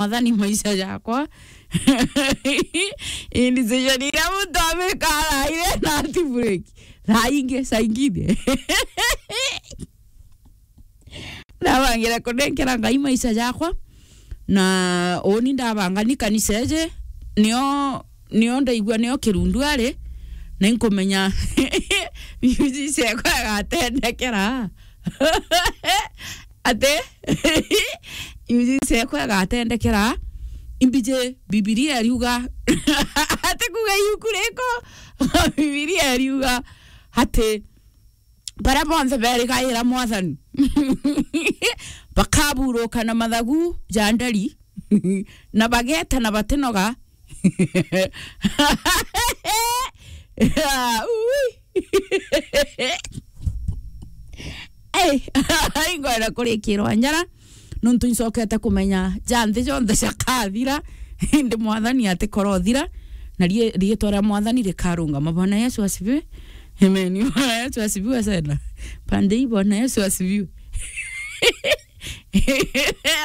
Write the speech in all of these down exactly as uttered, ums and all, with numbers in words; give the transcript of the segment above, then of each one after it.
Mwathani maisha jakwa. Indi decision iria muntu amika araire na ati break. Thaa ingi, saa ingine. Ndabangire kunenkera Ngai maisha jakwa, na uni ndabanga ni kanisa iji, nio, nio ndaigua nio kirundu ari, na inkumenya music ekwa igatendekera. Ati, music ekwa igatendekera, imbiji Bibilia iriuga, ati kuga iuku riko, Bibilia iriuga, ati, baria bonthe berigaira Mwathani, bakaburuka na mathagu ja nderi, na bageta na batinoga. Ui. Ei, ingwenda kurikirwa njara, nontu incokete kumenya ja nthi jonthe jakathira, indi Mwathani atikorothira, na rie-, riitwa ria Mwathani rikarungama. Bwana Yesu asifiwe. Amen. Bwana Yesu asifiwe sana. Pande hii, Bwana Yesu asifiwe.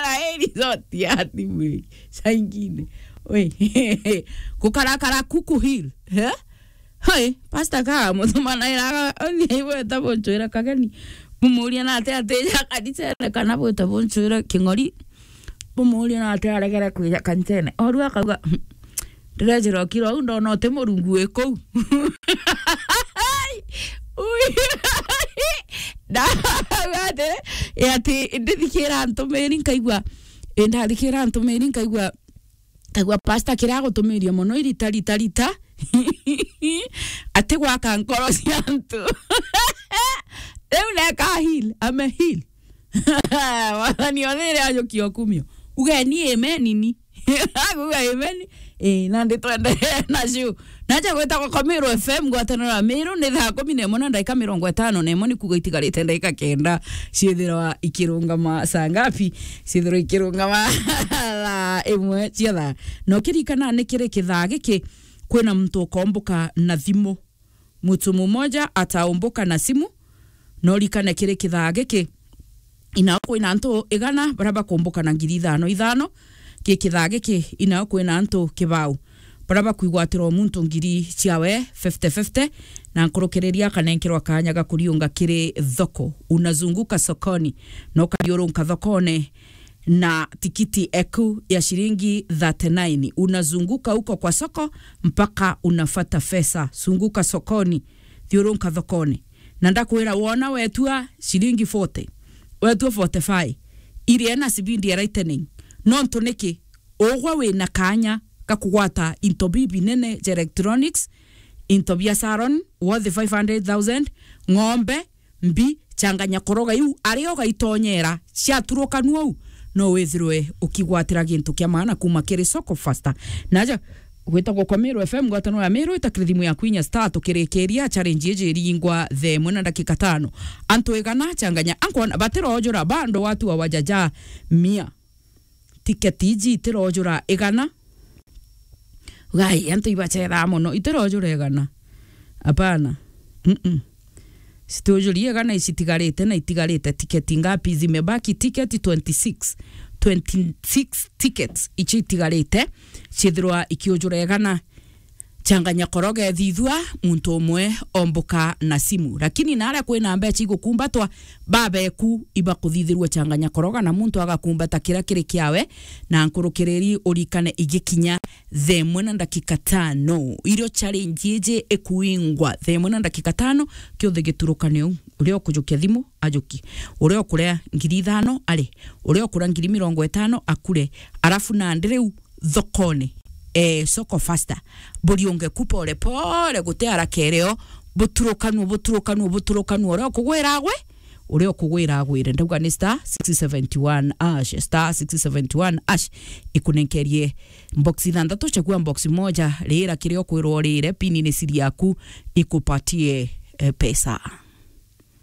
Raeli zote ati mwe. Saa ingine. We. Kukarakara kuku hill. Eh? Hoi, pastor ka mutumana iraga, othi aigweta bunchwira kageni. Bumuria na ati ati ja kanisene kana bwita bunchwira king'ori. Bumuria na ati aregere kwija kanisene. Oru akauga, "Ndirejira okira uu ndona uti Murungu wi kuu." Ui. Ndauga ati, ati ndithikira ntumiri nkaigua, ndathikira ntumiri nkaigua, kaigua pastor kiria agutumiria mono irita, rita, rita. Ati gwaka nkoro cia antu. Riu neka heal, ame heal. Wathani othe iria ajukia okumio. Ugeni amen ni. Aguga amen. Eh, nandi twenderee nacio. Naja gwitagwa kwa Meru F M, ngwataniro ya Meru, ni thaa kumi na imwe na ndaika mirongo itano na imwe, ni kuuga itigarite ndaika kenda ciithirwa ikirungama saa ngapi? Ciithirwa ikirungama thaa imwe cia thaa. Na ukirikana ni kiri kithaa giki kwina muntu ukomboka na thimu. Mtu mmoja ataomboka na simu, na urikane kiri kithaa giki, inao kwina antu igana baria bakomboka na ngiri ithano ithano, ki kithaa giki, inao kwina antu kibao baria bakwigwatirwa muntu ngiri ciawe fifty fifty, na nkurukiriria akanenkerwa kanya ga kuriunga kiri thoko. Unazunguka sokoni, na ukathiurunka thokone, na tikiti eku ya shilingi thirty-nine. Unazunguka huko kwa soko mpaka unapata pesa. Zunguka sokoni, thiurunka thokone. Na ndakwira, wona wetua shilingi forty, wetua forty-five, irie na sibindi ya lightning. Nontu niki? Ugwe wina kanya ga kugwata into bibinene ja electronics, into bia salon worth five hundred thousand, ng'ombe, mbi, changanya koroga iu, aria ugaitonyera, ciaturukanua u, no withirwe ukigwatira gintu kia maana kuma kiri Soko Fasta. Naja gwitagwa kwa Meru F M, ngwataniro ya Meru, itakire thimu yaku inya star, tukirikiria challenge iji iringwa thaa imwe na ndakika tano. Antu igana changanya, ankona batirojura bando watu wa wajaja mia. Tiketi iji itirojura igana. Gai, antu ibachethaa mono, itirojura igana. Hapana. Mm-mm. Citujurie igana icitigarite, na itigarite tiketi ngapi? Zimebaki tiketi twenty-six. Twenty-six tickets icio itigarite, ciithirwa ikiujura igana. Changanya koroga ethithua muntu umwe omboka na simu. Lakini naria kwina mbecha igukumbatwa, babeku ibakuthithirua changanya koroga na muntu agakumbata kiria kiri kiawe, na nkurukiriri urikane igikinya thaa imwe na ndakika tano. Irio challenge iji ikuingwa thaa imwe na ndakika tano, kiothe giturukane u. Uria ukujukia thimu, ajuki. Uria ukuria ngiri ithano, ari. Uria ukuria ngiri mirongo itano, akure. Arafu nandi riu thokone, eh, Soko Fasta, buriunge ku pole pole, guti haraka irio, buturukanue, buturukanue, buturukanue, uria ukugwira agwe, uria ukugwira agwire. Ndauga ni star six seventy one hash, star six seventy one hash, ikunenkerie box ithanthatu, chagua box moja, rira kiria ukwirwa urire, pini ni siri yaku, ikupatie, eh, pesa.